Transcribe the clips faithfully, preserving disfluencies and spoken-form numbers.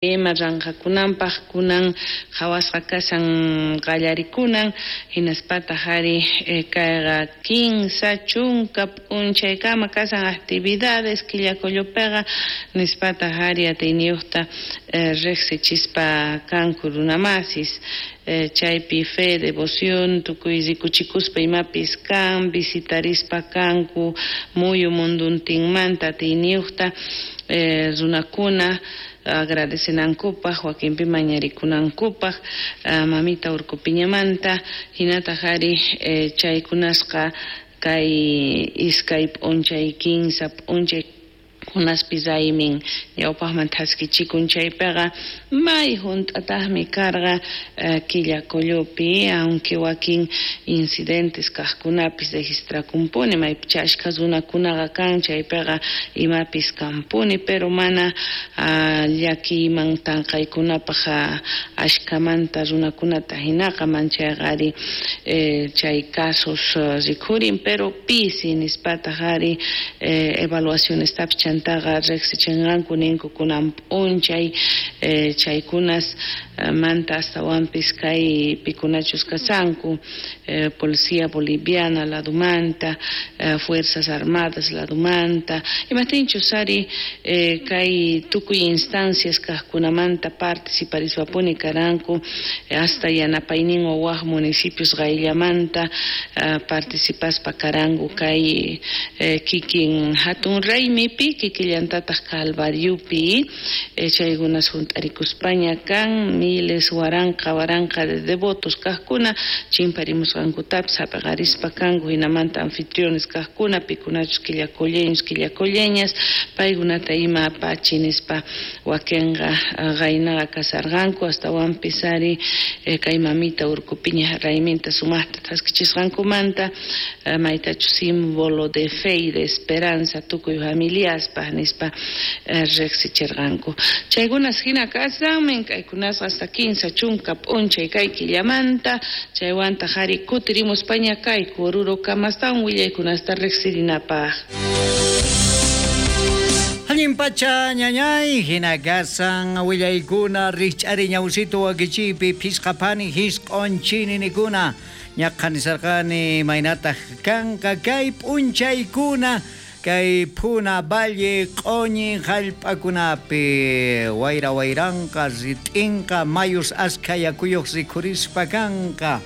Ima ranqakunanpaq kunan qhawasqa kashan qallarikunan hinaspataq ari kayqa kinsa chunka p'unchaykama kashan actividades Quillacollopiqa nispataq ari atiyniyuqta riqsichispa kanku runamasis chaypi fe, devoción, tukuy rikuchikuspa imapis kan, visitarispa kanku muyu munduntinmanta atiyniyuqta runakuna agradecenankupaq wakinpi mañarikunankupaq mamita Urcupiñamanta hinataq ari chaykunasqa kay iskay p'unchay kinsa p'unchay kunaspi raymin ñawpaqman thaskichikun chaypiqa may hunt'ataqmi karqa Quillacollopi aunque wakin incidentes kaqkunapis registrakunpuni maypicha achka runakunaqa kan chaypiqa imapis kanpuni pero mana llakiyman tanqaykunapaq ashkamanta runakunata hinaqa manchayqa ari chay casos rikhurin pero pisi nispataq ari evaluacionestapis chantaqa riqsichinqanku ninku kunan p'unchay chaykunas manta astawanpis kay pikunachus kasanku Policía Boliviana ladumanta, Fuerzas Armadas ladumanta imaptinchus ari kay tukuy instancias kaqkunamanta participariswapuni karanku hasta yanapayninwan waq municipios qayllamanta participaspa karanku kay kikin hatun raymipi kikillantataq Calvariopi chaykunas hunt'arikuspaña kan miles waranqa waranqa de devotos kaqkuna chimparimusqankutapis hap'iqarispa kanku hinamanta anfitriones kaqkuna pikunachus quillacolleños quillacolleñas paykunata ima apachi nispa wakinqa qaynaqa kasarqanku astawanpis ari kay mamita Urcupiña rayminta sumaqta thaskichisqankumanta maytachus símbolo de fe y de esperanza tukuy familiaspaq nispa riqsichirqanku chaykunas hina kasranmin kaykunasqa hasta kinsa chunka p'unchay kay killamanta chaywantaq ari kutirimuspaña kayku Oruro kamastawan willaykunasta riqsirinapaq. Allin pacha ñañay hina kasan willaykuna rikch'ari ñawsito wakichiypi phisqapani hisq'onchini nikuna ñaqhanisarqani maynataq kanqa kay p'unchaykuna kay Puna Valle q'uñi hallp'akunapi wayra wayranqa rit'inqa mayus askha yakuyuq rikhurispa kanqa.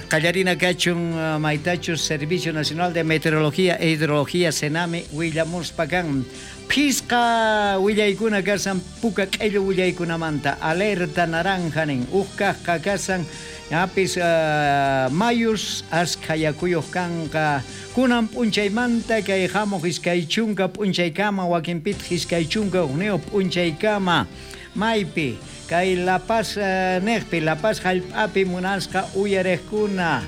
Qallarina kachun maytachus Servicio Nacional de Meteorología e Hidrología Sename willamuspa kan phisqa willaykuna kasan puka q'illu willaykunamanta alerta naranja nin uj kaqqa kasan apis uh, mayus askha yakuyuq kanqa kunan p'unchaymanta kay hamuq iskay chunka p'unchaykama wakinpitaq iskay chunka hukniyuq p'unchaykama maypi kay La Paz uh, neqpi La Paz hallp'api munasqa uyariqkuna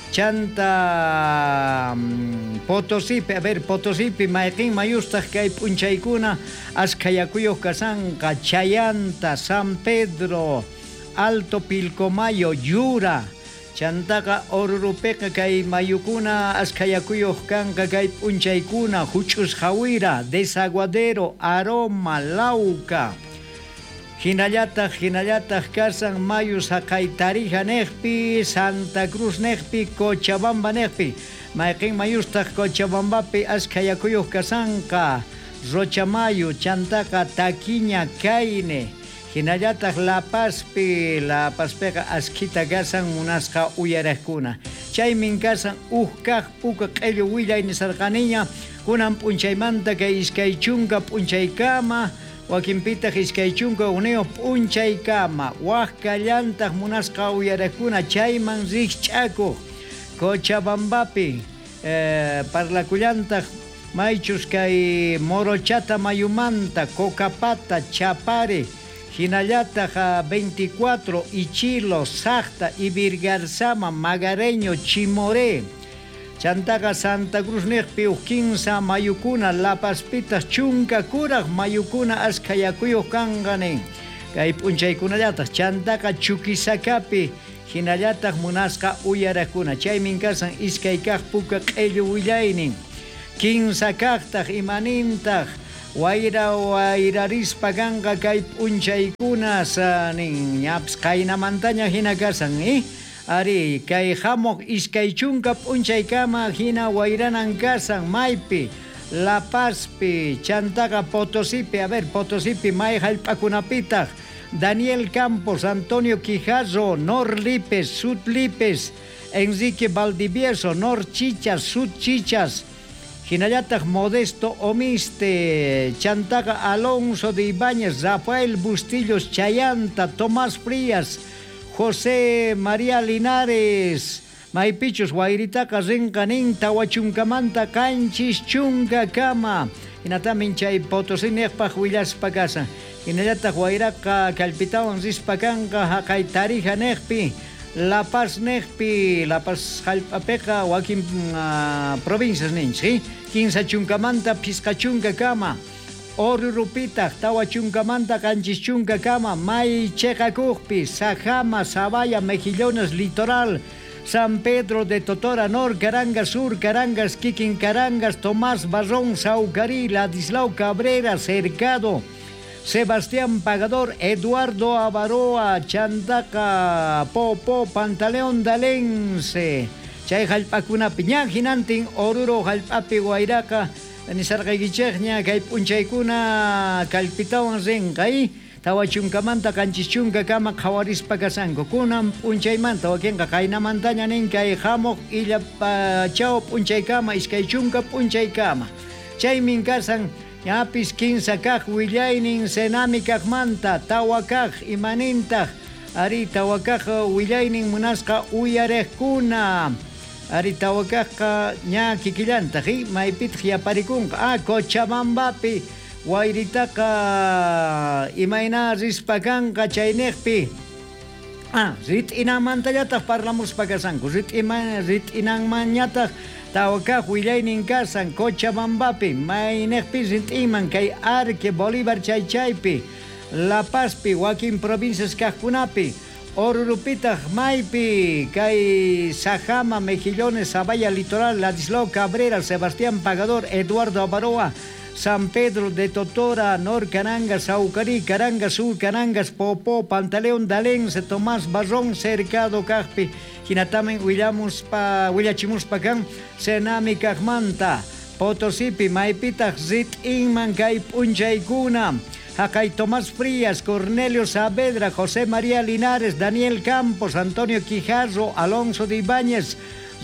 chanta um, Potosipi, a ver, Potosipi mayqin mayustaq kay p'unchaykuna askha yakuyuq kasanqa Chayanta, San Pedro, Alto Pilcomayo, Yura, chantaqa Orurupiqa kay mayukuna askha yakuyuq kanqa kay p'unchaykuna Huch'us Jawira, Desaguadero, Aroma, Lauca. Hinallataq, hinallataq kasan mayus haqay Tarija neqpi, Santa Cruz neqpi, Cochabamba neqpi. Mayqin mayustaq Cochabambapi askha yakuyuq kasanqa, Rochamayo, chantaqa Taquiña, Caine. Hinallataq La Pazpi, La Pazpiqa askhita kasan munasqa uyariqkuna. Chaymin kasan uj kaq puka q'illu willay nisarqaniña, kunan p'unchaymanta kay iskay chunka p'unchaykama, wakinpitaq iskay chunka hukniyuq p'unchaykama, waq kallantaq munasqa uyariqkuna chayman rikch'akuq Cochabambapi, eh, parlakullantaq maychus kay Morochata mayumanta, Cocapata, Chapare, hinallataq veinticuatro, Ichilo, Sacta, Ibirgarzama, Magareño, Chimoré, chantaqa Santa Cruz neqpi uj kinsa mayukuna, La Pazpitas chunka kuraq mayukuna askha yakuyuq kanqa nin kay p'unchaykunallataq chantaqa Chuquisacapi hinallataq munasqa uyariqkuna chaymin kasan iskay kaq puka q'illu willaynin kinsa kaqtaq imanintaq Wayra wayrarispa kanqa kay p'unchaykuna nin ñapis qaynamantaña hina kasan eh? Ari kay hamuq iskay chunka p'unchaykama hina wayranan kasan maypi La Pazpi chantaqa Potosipi, a ver Potosipi may hallp'akunapitaq Daniel Campos, Antonio Quijarro, Nor Lipes, Sud Lipes, Enrique Valdivieso, Nor Chichas, Sud Chichas, hinallataq Modesto Omiste, chantaqa Alonso de Ibáñez, Rafael Bustillos Chayanta, Tomás Frías, José María Linares, maypichus wayritaqa rinqa nin tawa chunkamanta qanchis chunkakama, hinatamin chay Potosí niqpaq willaspa kasan, hinallataq wayraqa kallpitawan rispa kanqa haqay Tarija niqpi, La Paz niqpi, La Paz hallp'apiqa wakin uh, provincias ninchik, kinsa chunkamanta phisqa chunkakama, Orurupitaq tawa chunkamanta qanchis chunkakama, may chiqakuqpi, Sajama, Sabaya, Mejillones, Litoral, San Pedro de Totora, Nor Carangas, Sur Carangas, Kikin Carangas, Tomás Barrón, Saucarí, Ladislao Cabrera, Cercado, Sebastián Pagador, Eduardo Avaroa, Chantaca, Popo, Pantaleón Dalense, chay hallp'akunapi ña hinantin Oruro hallp'api wayraqa nisarqaykichikña kay p'unchaykuna kallpitawan rinqa tawa chunkamanta qanchis chunkakama qhawarispa kasanku kunan p'unchaymanta wakinqa qaynamantaña nin kay hamuq illa chaw p'unchaykama iskay chunka p'unchaykama chaymin kasan ñapis kinsa kaq willaynin Senami kaqmanta tawa kaq imanintaq ari tawa kaq willaynin munasqa uyariqkuna ari tawa kaqqa ña kikillantaq maypitaq yaparikunqa ah Cochabambapi wayritaqa imayna rispa kanqa chayniqpi ah rit'inanmantallataq parlamuspa kasanku rit'ima rit'inanmanñataq tawa kaq willaynin kasan Cochabambapi mayniqpi rit'iman kay Arque Bolívar chay chaypi La Pazpi wakin provincias kaqkunapi Orurupitaq maypi kay Sajama, Mejillones, Sabaya, Litoral, Ladislao Cabrera, Sebastián Pagador, Eduardo Avaroa, San Pedro de Totora, Nor Carangas, Saucarí, Carangas, Sur Carangas, Popó, Pantaleón, Dalense, Tomás Barrón, Cercado, Kaqpi, hinatamin willamuspa, willachimuspa kan, Senami kaqmanta, Potosipi, maypitaq rit'inman kay p'unchaykuna, haqay Tomás Frías, Cornelio Saavedra, José María Linares, Daniel Campos, Antonio Quijarro, Alonso de Ibáñez,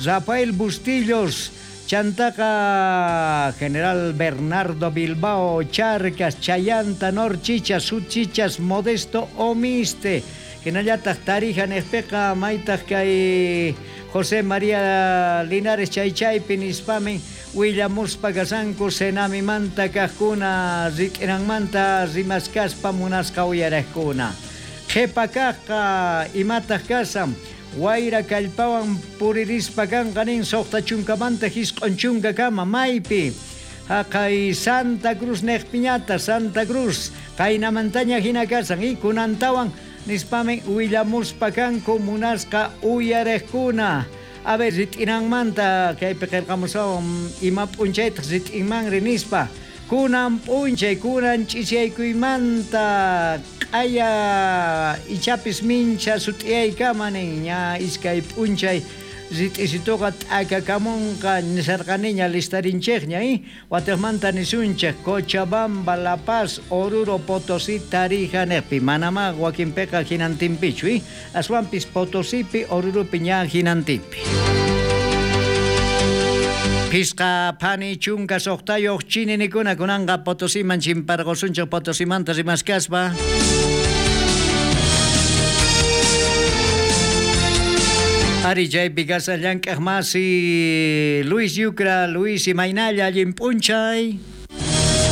Rafael Bustillos, Chantaca, General Bernardo Bilbao, Charcas, Chayanta, Nor Chichas, Sud Chichas, Modesto Omiste, hinallataq Tarija niqpiqa maytaq kay José María Linares chaychaypi nispamin willamuspa kasanku Senamimanta kaqkuna rit'inanmanta rimaskaspa munasqa uyariqkuna qhipa kaqqa imataq kasan wayra kallpawan puririspa kanqa nin suqta chunkamanta hisq'un chunkakama maypi haqay Santa Cruz niqpiñata Santa Cruz qaynamantaña hina kasan y kunantawan nispamin willamuspa kanku munasqa uyariqkuna a ver rit'inanmanta kaypi qillqamusawan ima p'unchaytaq rit'inmanri nispa kunan p'unchay kunan ch'isiyaykuymanta q'aya ichapis mincha sut'iyaykama nin ña iskay p'unchay rit'isituqa t'akakamunqa nisarqaniña listarinchikña eh? Watiqmanta nisunchik Cochabamba, La Paz, Oruro, Potosí, Tarija niqpi manamá wakinpiqa hinantinpichu eh? Aswanpis Potosipi, Orurupi ña hinantinpi. Phisqa phani chunka suqtayuq chininikuna kunanqa Potosiman chimparqusunchik Potosimanta rimaskaspa. Ari chaypi kasa llank'aq masi Luis Yucra, Luis imaynalla allin p'unchay.